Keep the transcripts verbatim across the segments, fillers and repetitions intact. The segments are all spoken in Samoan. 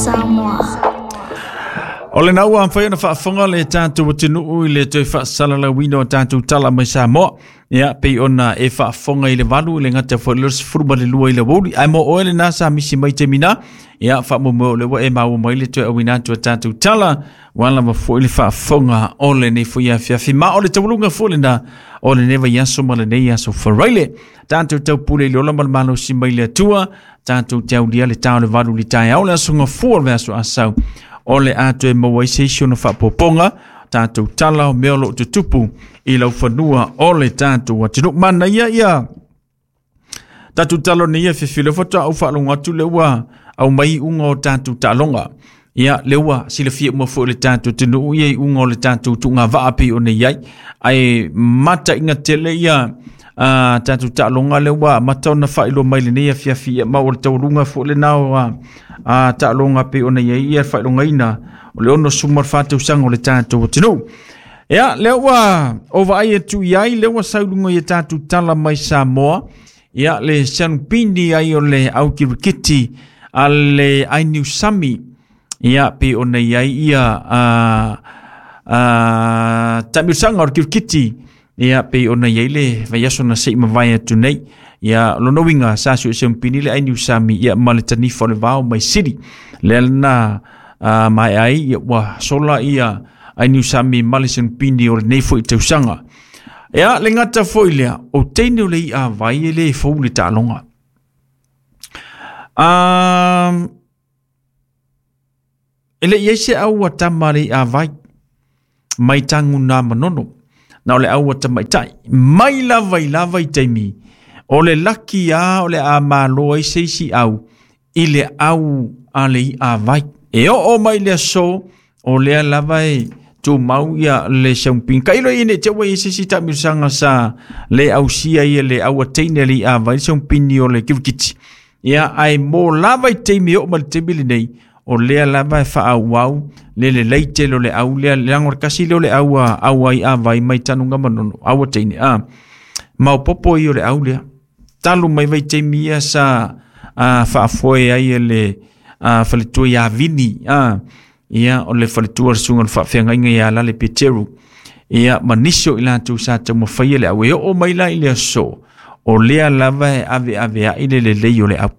Samoa. O le naua amfai ona faafofoga le tatou atunuu i le toe faasalalauina o tatou tala mai Samoa. Ia, pei ona e faafofoga i le valu i le gata foi le sefulu ma le lua i le aoauli. Ae mo oe lena sa misi mai taimi na. Ia, faamoemoe o lea ua e maua mai le toe auina atu o tatou tala. Ua lava foi le faafofoga o lenei foi afiafi. Ma o le taualuga foi lena o lenei vaiaso ma lenei aso Faraile. Tatou taupule i le ola ma le malosi mai le Atua. Tatou te aulia le ta o le valu i le taeao le aso Gafua o le aso Asau. O le a toe maua ai se isi ona faapopoga tatou tala o mea o loo tutupu i laufanua o le tatou atunuu. Manaia ia tatou tala nei ia fefile faatoa ou faalogo atu le ua aumai iuga o tatou taaloga. Ia, le ua silafia uma foi le tatou atunuu ia iuga o le tatou tuugavaa pei ona i ai. Ae mataiga tele ia a tatou taaloga le ua amata ona faailoa mai lenei afiafi ia ma o le taualuga foi lena o a taaloga pei ona i ai ia faailogaina o le ono suma fa tausaga o le tatou atunuu. Ia, lea ua o vaai atu i ai, lea ua sauluga i tatou tala mai Samoa. Ia, le sanupini ai o le au kirikiti a le Ainiu Sami. Ia, pei ona i ai ia a, a, taamilosaga o le kirikiti. Ia, pei ona i ai le vaiaso na sei mavae atu nei. Ia, lona uiga sa suesuempini le Ainiu Sami ia ma le tanifa o le vao mai Sili. Lea lena uh, mai ai ia, ua sola ia Ainiu Sami ma le sanupini o lenei foi tausaga. Ia, le gata foi lea, o teine o le ia vai e le fou le taaloga. Um, e le i ai se au a tama le ia vai, mai tangu nā manono, na o le au a tamaitai. Mai lava i lava i taimi, o le laki a o le a malo ai se isi au, i le au a le ia vai. E oo mai le aso, o lea lava e tumau ia le saumping. Ka ilo ine te ua i se si taamilosaga sa le ausia ia le au a teine le ia vai le saumpini o le kirikiti. Ia, ae mo lava i taimi oo ma le taimi lenei, o lea lava e faaauau le lelei tele o le au lea, leaga o le kasi lea o le au a au ai a vai mai tanuga manono, au a teine. A, maopoopo ia o le au lea. Talu mai vai taimi ia sa a, faafoe ai e le a, faletua ia Vini. A, ia, o le faletua le susuga o le faafeagaiga ia Lale Peteru. Ia, ma nisi o i latou sa taumafaia le au. E oo mai la i le aso, o lea lava e aveave ai le lelei o le au.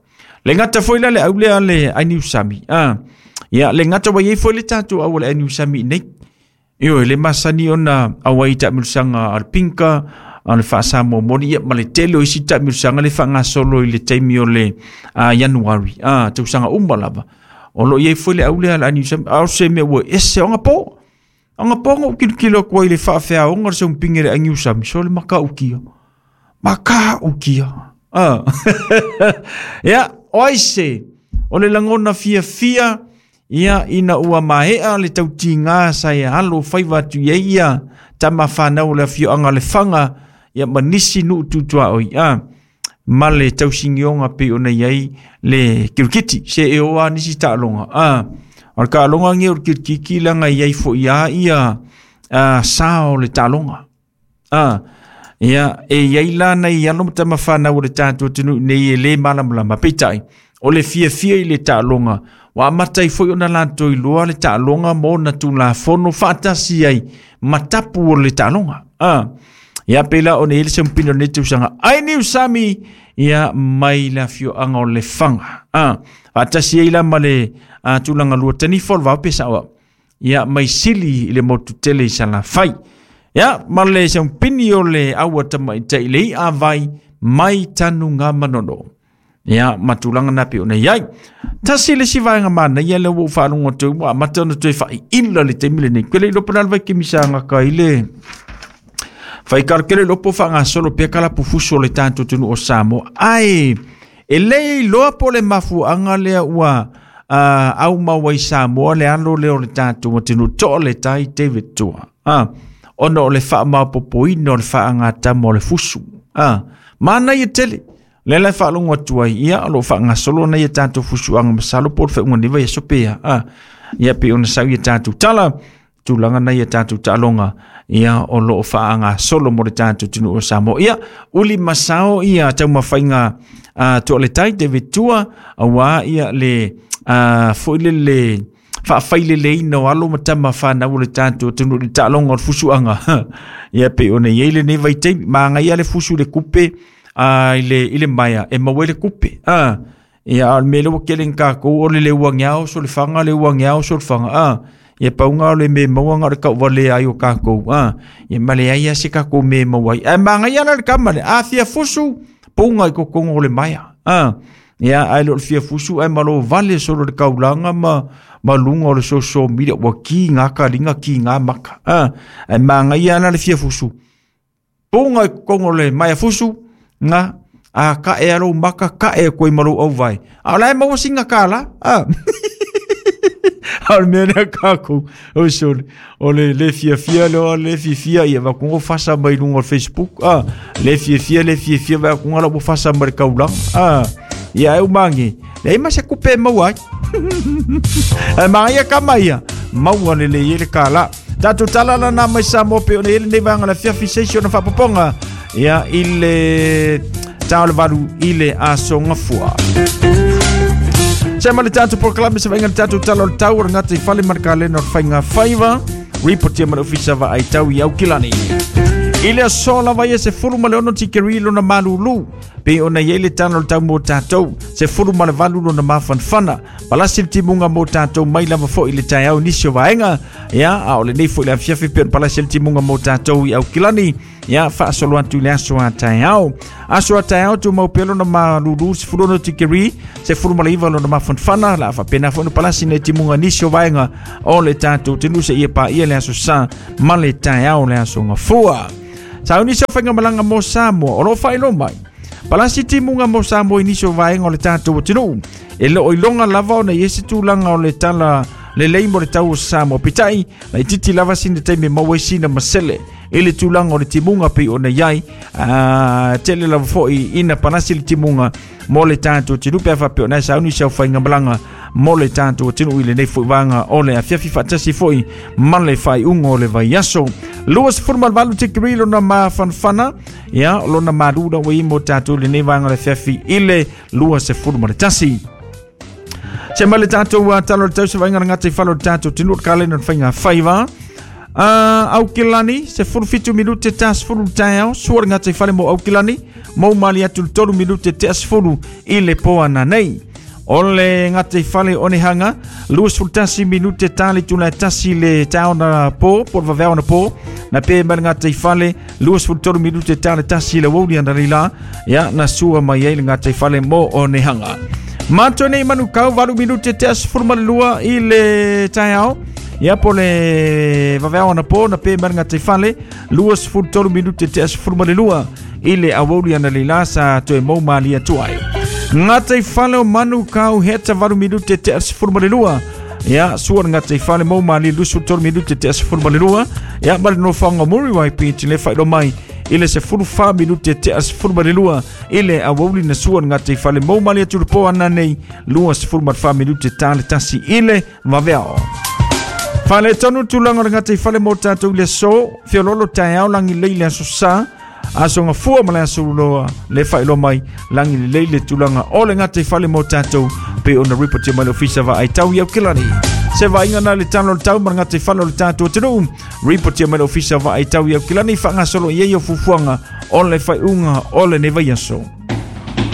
Le gata foi la le au lea le Ainiu Sami. Ah, ia, le gata ua iai foi le tatou au o le Ainiu Sami nei. Ioe, le masani ona au ai taamilosaga a le pinka, a le faasamoa moni, ia, ma le tele o isi taamilosaga le faagasolo i le taimi o le uh, Ianuari. Ah, tausaga uma lava. O lo o iai foi le au lea le Ainiu Sami. A o se mea ua ese o gapo. O gapo ngou kilokilo atu ai i le faafeaoga o le saumpini le Ainiu Sami. So le makaukia. Makaukia. Ah. Ia, o ai se, o le lagona fiafia, ia, ina ua maea le tautiga sa e alo faiva atu i ai ia tama fanau o le afioaga Lefaga, ia ma nisi nuu tutuaoi. Ah, ma le tausigioga pei ona i ai le kirikiti. Se e o a nisi taaloga. Ah, o le taaloga ge o le kirikiki laga i ai foi a ia ah, sa o le taaloga. Ah, ia, e iai la nai alo ma tama fanau o le tatou atunuu nei e lē malamalama. Peitai, o le fiafia i le taaloga, ua amata ai foi ona latou iloa le taaloga ma ona tulafono faatasi ai ma tapu o le taaloga. Ah, ia pei la ona i ai le saumpini o lenei tausaga. Ainiu Sami, ia mai le afioaga o Lefaga. Ah, faatasi ai la ma le uh, tulaga lua tanifa o le vao pe sao au. Ia, mai Sili i le motu tele i Salafai. Ia, ma le saumpini o le au a tamaitai le ia vai mai tanuga manono. Ia, ma tulaga na pei ona i ai. Tasi le isi vaega manaia lea ua ou faalogo atu ai, ua amata ona toe faaiila le taimi lenei. Ke le iloa po o le a le vaikemisaga ka i le faikalikele iloa po o faagasolo pea kalapufusu o le tatou atunuu o Samoa. Ae e le iloa po o le mafuaaga lea ua uh, aumau ai Samoa le alo lea o le tatou atunuu toa le tai David Tua. Ah, ona o le faamaopoopoina o le faagatama o le fusu. Ah, manaia tele. Le la e faalogo atu ai, ia, o loo faagasolo na ia tatou fusuaga masalo po o le faaiuga nei vaiaso pea. Ah, ia pei ona sau ia tatou tala, tulaga na ia tatou taaloga, ia o loo faagasolo mo le tatou atunuu o Samoa. Ia, uli masao ia taumafaiga uh, toa le tai David Tua, auā ia le a foi le le faafaileleina o alo ma tama fanau o le tatou atunuu i le taaloga o le fusuaga. Ia pei ona i ai lenei vaitaimi, magaia le fusu i le kupe a i le i le maea e maua ai le kupe. A ia a o le mea lea ua tele ina tatou o le le uagiao solefaga le uagiao solefaga a ia pauga o le me maua na o le tauvalea ai o tatou a ia ma leai lava se tatou mea e maua ai. Ae magaia la le tama lea, a fia fusu puga i totonu o le maea a ia ae le o le fia fusu ae malo vale solo le kaulaga ma ma luga o le social media ua kiga kaliga kiga maka a ae magaia la le fia fusu puga i totonu o le maea fusu na a ka'e a lou maka ka'e koe ma lou auvae a o la e maua sina kālā a a o le mea lea kākou o sole o le le fiafia lea o le fiafia ia vakuga fasa mai luga o le Facebook a le fiafia le fiafia vakuga la ua fasa mai le kaulaga a ia e umagi leai ma se kupe e maua ai ae magaia kama ia maua lelei ai le kālā. Tatou tala lana mai Samoa pe ona i ai lenei vaega o le afiafi se isi ona faapopoga ia i le tā o le valu i le aso gafua. Se ma le tatou polokalame se vaaiga le tatou tala o le tau o le gata i fale ma le kalena o le faiga faiva ripotia ma le ofisa vaai tau i Aukilani. I le aso lava ia se fulu ma le ono tikeri lona malulu pe ona i ai le tala o le tau mo tatou se fulu ma le valu lona mafanafana palasi le timuga mo tatou mai lava foi le taeao nisi o vaega ia a o lenei foi le afiafi pe ona palasi le timuga mo tatou i Aukilani ia faasolo atu i le aso a taeao. Aso a taeao tumau pea lona malulu sefulu ono tikeri sefulu ma le iva lona mafanafana la faapena foi ona palasi nei timuga nisi o vaega o le tatou atunuu seia paia le aso sa ma le taeao le aso gafua. Sauni se faigamalaga mo Samoa o loo faailoa mai palasi timuga mo Samoa i nisi o vaega o le tatou atunuu e loo iloga lava ona i ai se tulaga o le tala lelei mo le tau o Samoa peitai laitiiti lava sina taimi e maua ai sina masele i le tulaga o le timuga pei ona i ai a tele lava foi ina palasi le timuga mo le tatou atunuu pe a faapea ona e sauni se aufaigamalaga mo le tatou atunuu i lenei foi vaega o le afiafi faatasi foi ma le faaiuga o le vaiaso. Lua sefulu ma le valu tikeri lona mafanafana ia lona malu la ua i mo tatou i lenei vaega o le afiafi i le lua sefulu ma le tasi. Se ma le tatou uh, tala o le tau se vaaiga le gata i fale o le tatou atunuu o le kalena o le faiga faiva. Uh, Aukilani, se fulu fitu minute ta sefulu le taeao, sua le gata i fale mo Aukilani, mau mali atu le tolu minute tea sefulu i le po ananei. O le gata i fale o Onehunga, lua sefulu tasi minute ta le tula e tasi le taeao na po, po le vaveao na po, na pe mai le gata i fale, lua sefulu tolu minute ta le tasi le uauli analeila, ia na sua mai ai le gata i fale mo Onehunga. Matou nei Manukau, valu minute tea sefulu ma le lua i le taeao, ia po le vaveao na po, na pe mai le gata i fale, lua sefulu tolu minute tea sefulu ma le lua i le aoauli analeila sa toe mau malie atu ai. Gata i fale o Manukau, heta valu minute tea sefulu ma le lua, ia sua le gata i fale mau malie lua sefulu tolu minute tea sefulu ma le lua, ia ma le nofoaga o Muriwai Beach le faailoa mai i le sefulu fa minute tea sefulu ma le lua i le aoauli na sua le gata i fale mau malie atu le po ananei lua sefulu ma le fa minute ta le tasi i le vaveao. Faaletonu tulaga o le gata i fale mo tatou i le aso, feoloolo taeao lagi lelei le aso sa, aso gafua ma le aso loa le faailoa mai lagi lelei le tulaga o le gata i fale mo tatou pe ona ripotia mai le ofisa vaai tau i Aukilani. Se vaaiga na le tala o le tau ma le gata i fale o le tatou atunuu, ripotia mai le ofisa vaai tau i Aukilani faagasolo i ai o fuafuaga o le faaiuga o lenei vaiaso.